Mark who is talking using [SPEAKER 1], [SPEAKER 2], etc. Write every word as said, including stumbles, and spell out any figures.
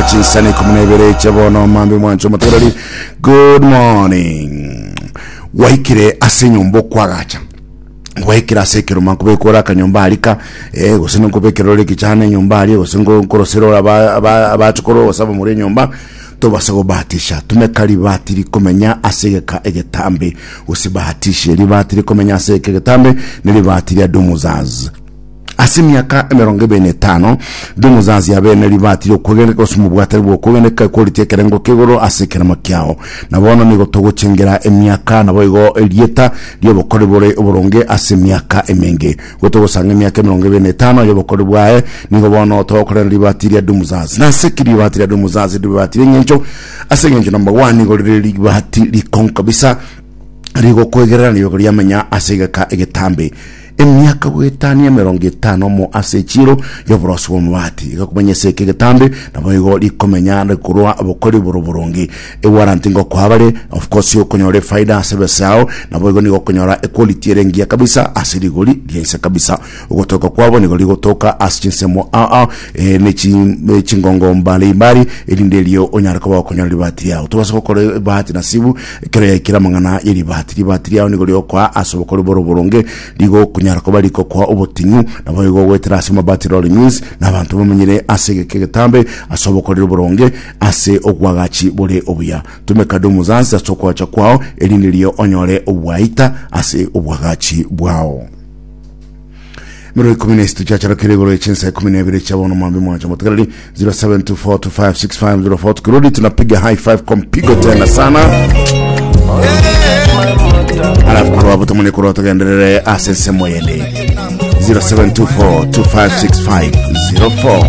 [SPEAKER 1] Chinsana ikumi na ibere chia bono mambi mwancho motegereri. Good morning. Waikire ase enyomba okwagacha, gwaikera ase ekeroma nkobekora akanyomba arika, eh, gose nkobekera ore ekichana enyomba aria, gose nko- nkorosera ore aba- aba- abachokoro gose abamura enyomba, tobasa gobahatisha. Tumeka ribati rikomenya ase egeka egetambe. Osibahatishe, ribati rikomenya ase egeka egetambe ni ribati ria Dumuzaz. Ase emiaka emerongo ebere na etano Dumuzazi abene ribati riokwegeneka gose omobwatani bw'okwegeneka equality ekerengo kia ase ekeremo kiao. Na bono nigo togochengera emiaka, nabo igo erieta ri'obokori bore oboronge ase emiaka emenge. Gotogosanga emiaka emerongo ebere na etano y'obokori bwaye, nigo bono togokorera ribati ria Dumuzazi. Na ase ki ribati ria Dumuzazi ribati ri'eng'encho? Ase eng'encho number one, nigo rire ribati rikong'u kabisa, rigokwegerera nigo riamenya ase egeka egetambe emiaka goetania emerongo etano mo ase echiro y'oborosi bw'amabati. Igakomenya ase eke egetambe, nabo igo rikomenya rikorwa obokori boro boronge. Ewarranty ngokoa bare, of course okonyora efaida ase ebesa yao, nabo igo nigo okonyora equality ere engiya kabisa ase rigori riainse kabisa. Ogotoka kwabo nigo rigotoka ase chinsemo ao ao, eh, ne chi- ne chingongo mbalimbali, erinde erio onyare koba okonyora ribati riao. Tobasa gokora ebahati nasibu ekero yaikire amang'ana y'eribati. Ribati riao nigo riokoa ase obokori boro boronge, rigokonyara koba rikokoa obotinyu, nabo igo goetera ase Mabati Rolling Mills na abanto bamenyire ase egeka egetambe ase obokoreri boronge ase obwagachi bore obuya. Tumeka Dumuzansi ase okwacha kwao, erinde rio onyore obwaita ase obwagachi bwao. Miro ikumi na isatu chiacharokire igoro echinsa ikumi na ibere chia bono mwambi mwancho motegereri. zero seven two four two five six five zero four. Tukirudi tunapiga high five kwa mpigo tena sana, alafu korwa hapo tumone korwa tugenderere ase ensemo yende. zero seven two four two five six five zero four.